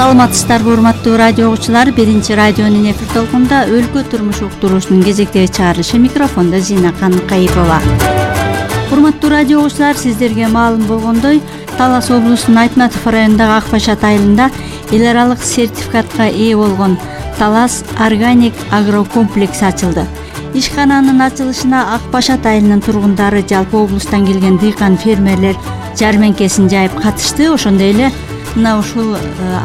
Саламатсыздарбы урматтуу радио угуучулар, 1-радионун эфир толкунда өлкө турмуш уктуруусунун кезектеги чыгарылышы, микрофондо Зина Каныкаипова. Урматтуу радио угуучулар, сиздерге маалым болгондой, Талас облусунун Айтматов районундагы Ак Башат айылында эл аралык сертификатка ээ болгон Талас органик агрокомплекс ачылды. Ишкананын ачылышына Ак Башат айылынын тургундары, жалпы облустан келген дыйкан фермерлер жармеңкесин жайып катышты. Ошондой эле мына ушул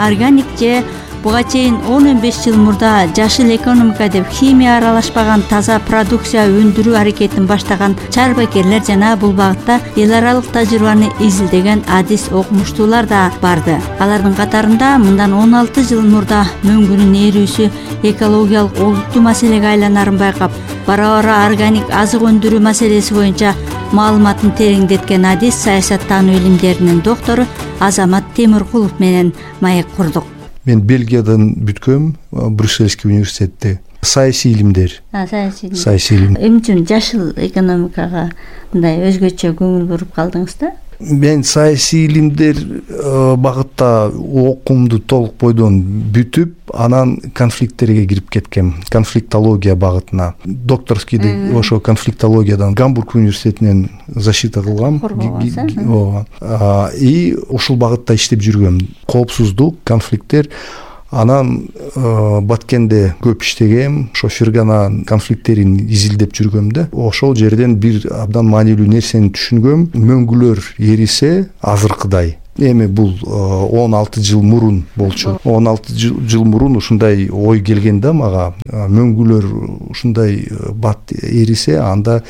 органик же буга чейин 10-15 жыл мурда жашыл экономика деп химия аралашпаган таза продукция өндүрүү аракетин баштаган чарбакерлер жана бул багытта эл аралык тажрыйбаны изилдеген адис окумуштуулар да барды. Алардын катарында мындан 16 жыл мурда мөңгүнүн ээрүүсү экологиялык олуттуу маселеге айланарын байкап, бара-бара органик азык өндүрүү маселеси боюнча маалыматын тереңдеткен адис, саясаттануу илимдеринин доктору Азамат Темиркулов менен маек курдук. Мен Бельгиядан бүткөм, Брюссельский университетте. Саясий илимдер. Саясий илим. Эмне үчүн жашыл экономикага мындай өзгөчө көңүл буруп калдыңыз да? Мен саясий илимдер багытта окуумду толук бойдон бүтүп, анан конфликттерге кирип кеткем. Конфликтология багытына. Докторскийди ошо конфликтологиядан Гамбург университетинен защита кылгам. И ушул багытта иштеп жүргөм. Коопсуздук, конфликттер. Анан Баткенде көп иштегем, ошо фергана конфликттерин изилдеп жүргөм да. Ошол жерден бир абдан маанилүү нерсени түшүнгөм. Мөңгүлөр эрисе азыркыдай. Эми бул 16 жыл мурун болчу. 16 жыл мурун ушундай ой келген да мага. Мөңгүлөр ушундай бат эрисе, анда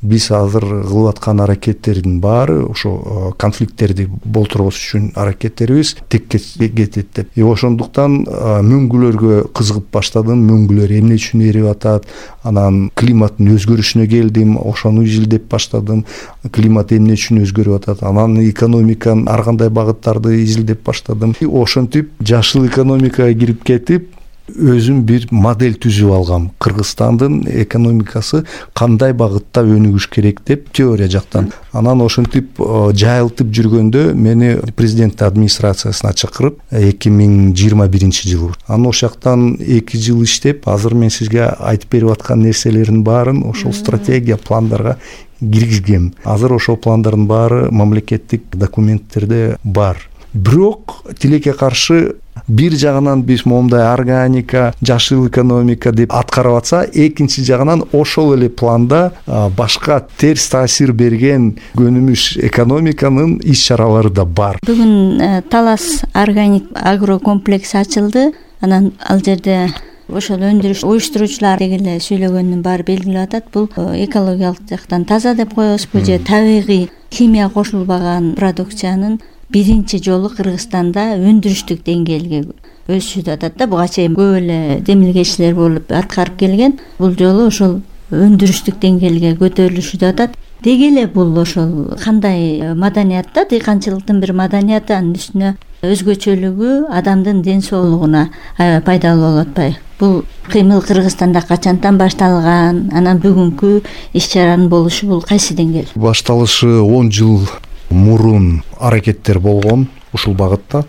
биз азыр кылып аткан аракеттердин баары ошо конфликттерди болтурбош үчүн аракеттерибиз текке кетет деп. Ошондуктан мөңгүлөргө кызыгып баштадым. Мөңгүлөр эмне үчүн эрип атат? Анан климаттын өзгөрүшүнө келдим, ошону изилдеп баштадым. Климат эмне үчүн өзгөрүп атат? Анан экономиканын ар кандай багыттарды изилдеп баштадым. Ошентип жашыл экономикага кирип кетип, өзүм бир модель түзүп алгам. Кыргызстандын экономикасы кандай багытта өнүгүш керек деп теория жактан. Анан ошентип жайылтып жүргөндө мени президент администрациясына чакырып 2021 жылы. Анан ошол жактан 2 жыл иштеп, азыр мен сизге айтып берип аткан нерселердин баарын ошол стратегия, пландарга киргизгем. Азыр ошол пландардын баары мамлекеттик документтерде бар. Бирок тилекке каршы бир жагынан биз момундай органика, жашыл экономика деп аткарып атса, экинчи жагынан ошол эле планда башка терс таасир берген көнүмүш экономиканын иш-чаралары да бар. Бүгүн Талас органик агрокомплекс ачылды. Анан ал жерде ошол өндүрүш уюштуруучулар дегеле сүйлөгөнүн баары белгилеп атат. Бул экологиялык жактан таза деп коебузбу же табигый химия кошулбаган продукциянын биринчи жолу Кыргызстанда өндүрүштүк деңгээлге өсүп атат да. Буга чейин көп эле демилгечилер болуп аткарып келген. Бул жолу ошол өндүрүштүк деңгээлге көтөрүлүшүп атат. Деги эле бул ошол кандай маданият да, дыйканчылыктын бир маданияты, анын үстүнө өзгөчөлүгү адамдын ден соолугуна аябай пайдалуу болуп атпайбы? Бул кыймыл Кыргызстанда качантан башталган? Анан бүгүнкү иш-чаранын болушу бул кайсы деңгээл? Башталышы 10 жыл мурун аракеттер болгон, ушул багытта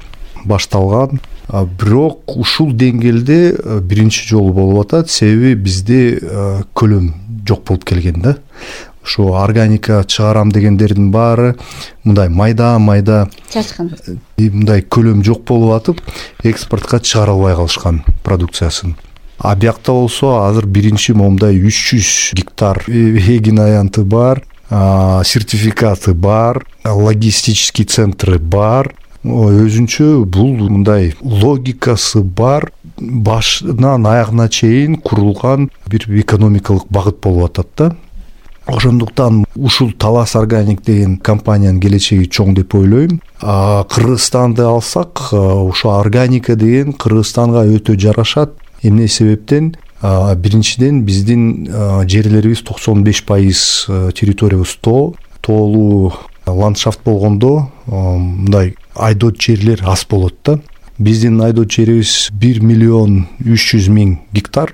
башталган. Бирок ушул деңгээлде биринчи жолу болуп атат, себеби бизде көлөм жок болуп келген да. Ошо органика чыгарам дегендердин баары мындай майда чачкын. Мындай көлөм жок болуп атып, экспортко чыгара албай калышкан продукциясын. А биякта болсо азыр биринчи момундай 300 гектар эгин аянты бар, сертификаты бар, логистический центры бар. Өзүнчө бул мындай логикасы бар, башынан аягына чейин курулган бир экономикалык багыт болуп атат да. Ошондуктан ушул Талас органик деген компаниянын келечеги чоң деп ойлойм. Кыргызстанды алсак, ушул органика деген Кыргызстанга өтө жарашат. Эмне себептен? Биринчиден биздин жерлерибиз 95% территориябыз тоолуу ландшафт болгондо мындай айдоот жерлер аз болот да. Биздин айдоот жерибиз 1.300.000 гектар.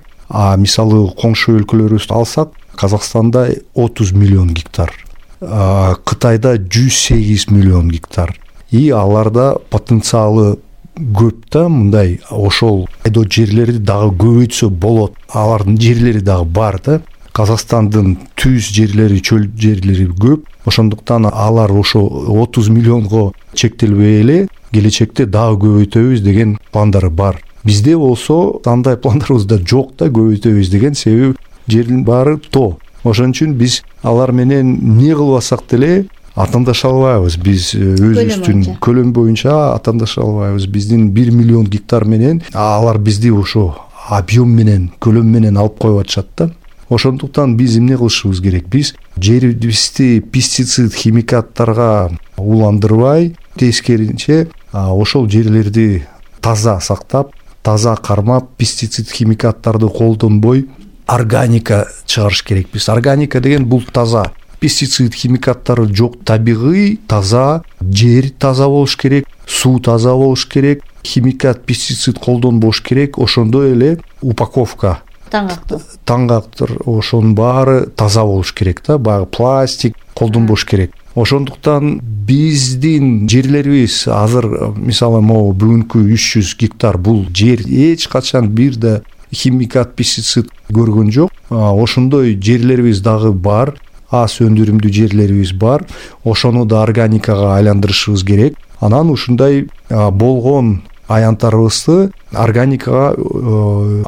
Мисалы коңшу өлкөлөрүбүздү алсак, Казакстанда 30 миллион гектар, Кытайда 108 миллион гектар. И аларда потенциалы көп да, мындай ошол айдоо жерлерди дагы көбөйтсө болот. Алардын жерлери дагы бар да. Казакстандын түз жерлери, чөл жерлери көп. Ошондуктан алар ошо 30 миллионго чектелбей эле келечекте дагы көбөйтөбүз деген пландары бар. Бизде болсо андай пландарыбыз да жок да, көбөйтөбүз деген, себеби жердин баары тоо. Ошон үчүн биз алар менен эмне кылбасак деле атандаша албайбыз. Биз өзүбүздүн көлөм боюнча атандаша албайбыз. Биздин 1 миллион гектар менен алар бизди ошо объем менен, көлөм менен алып коюп атышат да. Ошондуктан биз эмне кылышыбыз керек? Биз жерибизди пестицид, химикаттарга уландырбай, тескерисинче ошол жерлерди таза сактап, таза кармап, пестицид, химикаттарды колдонбой органика чыгарыш керекпиз. Органика деген бул таза, пестицид, химикаттары жок, табигый, таза жер, таза болуш керек, суу таза болуш керек, химикат, пестицид колдонбош керек. Ошондой эле упаковка, таңгактыр, ошонун баары таза болуш керек да, баягы пластик колдонбош керек. Ошондуктан биздин жерлерибиз азыр, мисалы, могу бүгүнкү 300 гектар бул жер эч качан бир да химикат, пестицид көргөн жок. Ошондой жерлерибиз дагы бар, аз өндүрүмдүү жерлерибиз бар. Ошону да органикага айландырышыбыз керек. Анан ушундай болгон аянттарыбызды органикага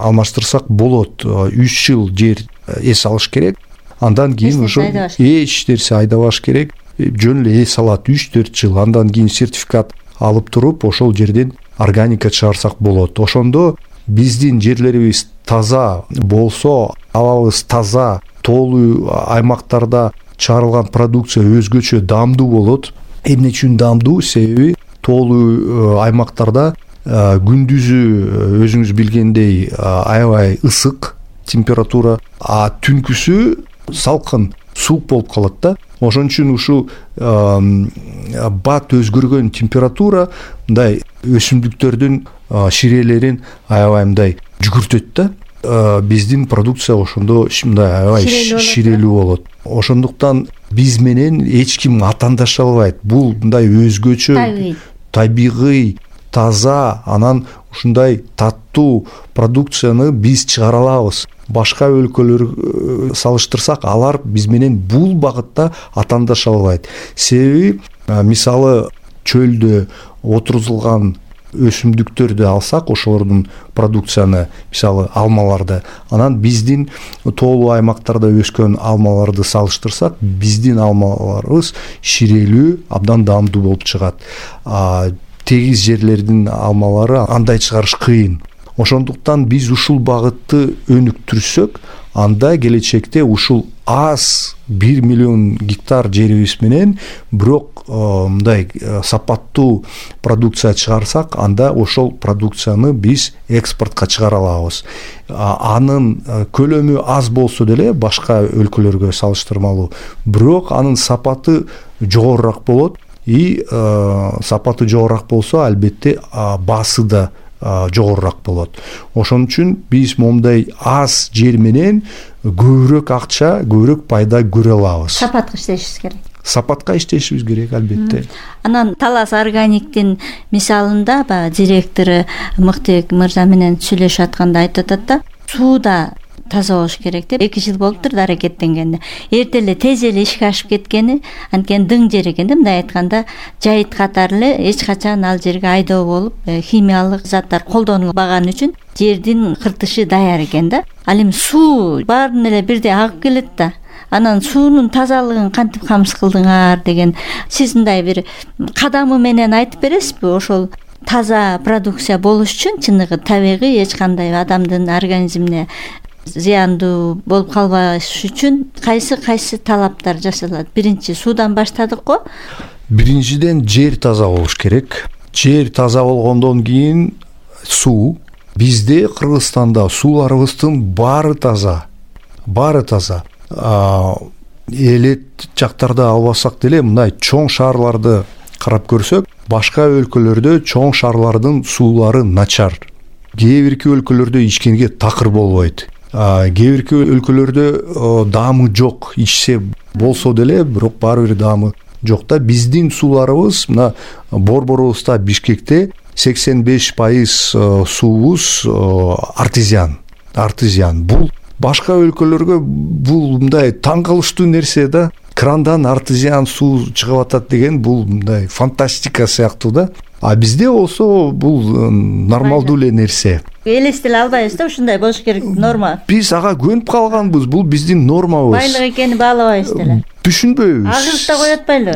алмаштырсак болот. 3 жыл жер эс алыш керек. Андан кийин ошо эч нерсе айдабаш керек. Жөн эле эс алат 3-4 жыл. Андан кийин сертификат алып туруп, ошол жерден органика чыгарсак болот. Ошондо биздин жерлерибиз таза болсо, абабыз таза, тоолуу аймактарда чыгарылган продукция өзгөчө даамдуу болот. Эмне үчүн даамдуу? Себеби тоолуу аймактарда күндүзү өзүңүз билгендей аябай ысык температура, түнкүсү салкын, суук болуп калат да. Ошон үчүн ушул бат өзгөргөн температура мындай өсүмдүктөрдүн ширелерин аябай мындай жүгүртөт да. Биздин продукция ошондо мындай аябай ширелүү болот. Ошондуктан биз менен эч ким атандаша албайт. Бул мындай өзгөчө, табигый, таза, анан ушундай таттуу продукцияны биз чыгара алабыз. Башка өлкөлөр салыштырсак, алар биз менен бул багытта атандаша албайт. Себеби, мисалы, чөлдө отурузулган өсүмдүктөрдү алсак, ошолордун продукцияны, мисалы, алмаларды, анан биздин тоолуу аймактарда өскөн алмаларды салыштырсак, биздин алмаларыбыз ширелүү, абдан даамдуу болуп чыгат. Тегиз жерлердин алмалары андай чыгарыш кыйын. Ошондуктан биз ушул багытты өнүктүрсөк, анда келечекте ушул аз 1 миллион гектар жерибиз менен бирок мындай сапаттуу продукция чыгарсак, анда ошол продукцияны биз экспортко чыгара алабыз. Анын көлөмү аз болсо деле башка өлкөлөргө салыштырмалуу, бирок анын сапаты жогорурак болот. И сапаты жогорурак болсо, албетте баасы да жогорурак болот. Ошон үчүн биз момундай аз жер менен көбүрөөк акча, көбүрөөк пайда көрө алабыз. Сапатка иштешибиз керек. Сапатка иштешибиз керек, албетте. Анан Талас органиктин мисалында директору Мыктыбек мырза менен сүйлөшүп атканда айтып атат да, сууда таза болуш керек деп 2 жыл болуптур да аракеттенгенде. Эрте эле тез эле ишке ашып кеткени, анткени дың жер экен да, мындай айтканда, жайыт катары эле эч качан ал жерге айдоо болуп, химиялык заттар колдонулбаган үчүн жердин кыртышы даяр экен да. Ал эми суу баарын эле бирдей агып келет да. Анан суунун тазалыгын кантип камсыз кылдыңар деген сиз мындай бир кадамы менен айтып бересизби? Ошол таза продукция болуш үчүн чыныгы табигый, эч кандай адамдын организмине зыяндуу болуп калбаш үчүн кайсы талаптар жасалат? Биринчи суудан баштадык го. Биринчиден жер таза болуш керек. Жер таза болгондон кийин суу. Бизде Кыргызстанда сууларыбыздын баары таза. Баары таза. Элет жактарда албасак деле, мындай чоң шаарларды карап көрсөк, башка өлкөлөрдө чоң шаарлардын суулары начар. Кээ бирки өлкөлөрдө ичкенге такыр болбойт. Кээ бирки өлкөлөрдө даамы жок, ичсе болсо деле, бирок баары бир даамы жок да. Биздин сууларыбыз мына борборубузда Бишкекте 85% суубуз артезиан. Бул башка өлкөлөргө бул мындай таң калыштуу нерсе да. Крандан артезиан суу чыгып атат деген бул мындай фантастика сыяктуу да. А бизде болсо бул нормалдуу эле нерсе. Элестете албайбыз да, ушундай болуш керек норма. Биз ага көнүп калганбыз. Бул биздин нормабыз. Байлык экенин баалабайбыз деле. Түшүнбөйбүз. Агырып да коет атпайлы.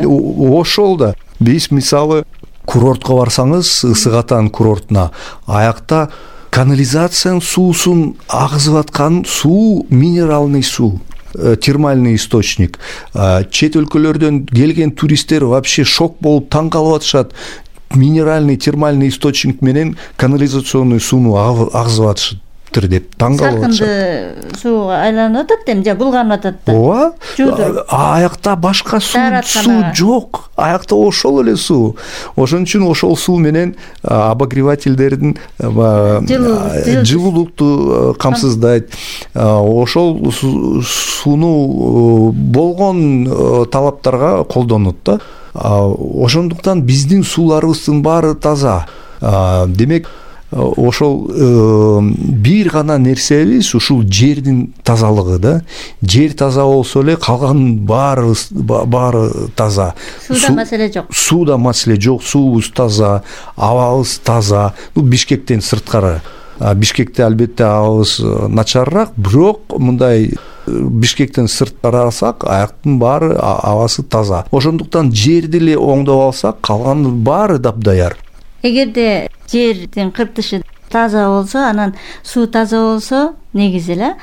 Ошол да. Биз мисалы курортко барсаңыз, Ысык Атан курортуна, аякта канализациянын суусун агызып аткан суу минералдык суу. Термальный источник. Чет өлкөлөрдөн келген туристтер вообще шок болуп таң калып атышат. Минеральный термальный источник менен канализационный сууну агызып атышыптыр деп таң калып атышат. Саркынды суу айланып атат эми, булганып атат да. Ооба. Аякта башка суу жок. Аякта ошол эле суу. Ошон үчүн ошол суу менен обогревательдердин жылуулукту камсыздайт. Ошол сууну болгон талаптарга колдонот да. Ошондуктан биздин сууларыбыздын баары таза. Демек, ошол бир гана нерсебиз ушул жердин тазалыгы да. Жер таза болсо эле калган баары таза. Сууда маселе жок. Сууда маселе жок, суубуз таза, абабыз таза. Бишкектен сырткары. Бишкекте албетте абабыз начарыраак, бирок мындай Бишкектен сырт карасак, аяктын баары абасы таза. Ошондуктан жерди эле оңдоп алсак, калганы баары дапдаяр. Эгерде жердин кыртышы таза болсо, анан суу таза болсо, негизи эле